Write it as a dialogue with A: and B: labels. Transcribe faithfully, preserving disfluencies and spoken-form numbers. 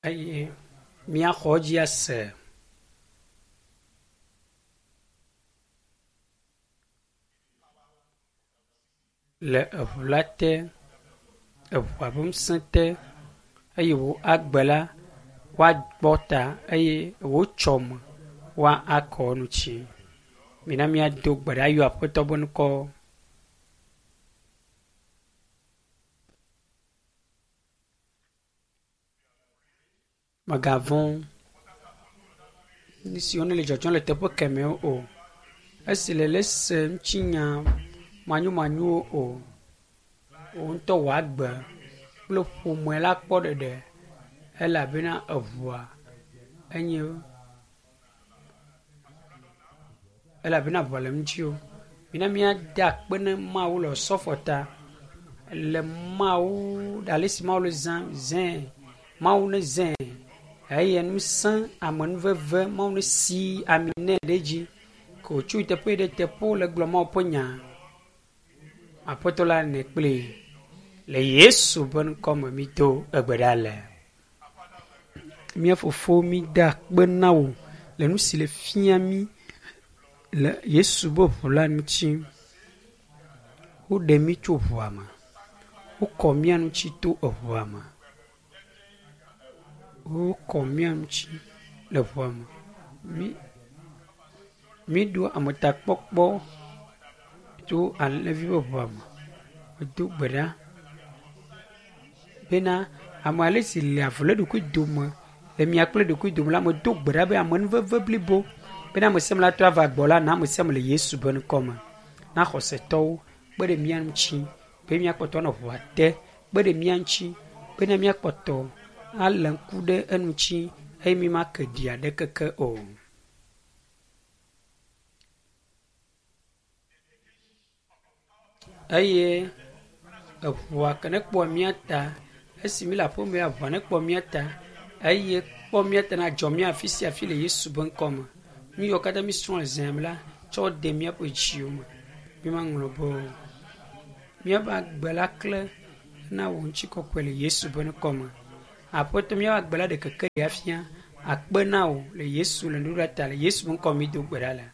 A: Eye míaxɔ edzi ase. Le eʋu la te, eʋua ƒe ŋusẽ te eye wò agbe la woakpɔ ta eye wò tsɔme woakɔ eŋuti. Mina míado gbe ɖa ayɔ Aƒetɔ ƒe ŋkɔ. Mègavɔ̃ nu siwo ne le dzɔdzɔm le teƒe kemɛwo o. Esi nèle ese ŋutinya manyomanyowo o. Wò ŋutɔ wò agbe kple ƒome la kpɔ ɖeɖe elabena eʋua enye elabena ʋua le ŋutiwò. Mina míada akpe ne Mawu le osɔfo ta le Mawu ale si Mawu le zã zãe. Mawu ne zãe eye ŋusẽ amenuveve Mawu ne si ami nɛ ɖe edzi ke wòtso yi teƒe ɖe teƒewo le gblɔ Mawu ƒe nya. Aƒetɔ la nɛ kplii. Le Yesu ƒe ŋkɔ me mído egbe ɖa le. Mía fofo mída akpe na wò le nu si le fia mí le Yesu ƒe ʋu la ŋuti. Woɖe mí tso ʋua me. Wokɔ mía ŋuti to eʋua me. Wokɔ mía ŋuti le ʋua me. Mí míɖo ametakpɔkpɔ tso alẽvi ƒe ʋua me. Medo gbe ɖa bena ame ale si le avu le eɖokui dome le mia kple ɖokui dome la, medo gbe ɖa be amenuveve blibo bena ame sia ame la trɔ ava gbɔ la na ame sia ame le Yesu ƒe ŋkɔ me. Na xɔsetɔwo kpe ɖe mía ŋuti be míakpɔtɔ anɔ ʋua te, kpe ɖe mía ŋuti bena míakpɔtɔ alé ŋku ɖe eŋuti eye mímake ɖi aɖekeke o. Eye eʋua ke ne kpɔ mía ta esi mí le aƒeme ya ʋua ne kpɔ mía ta eye kpɔ mía ta na dzɔ mía afi sia afi le Yesu ƒe ŋkɔ me. Nu yiwo katã mísrɔ̃ le zã me la tsɔ de míaƒe dziwo me. Mímaŋlɔ be o. Míaƒe agbe la klẽ na wò ŋutikɔkɔe le Yesu ƒe ŋkɔ me. Aƒetɔ míaƒe agbe la ɖe keke ɖe afia. Akpe na wò le Yesu le nuɖuɖua ta le Yesu ƒe ŋkɔ me mído gbe ɖa le.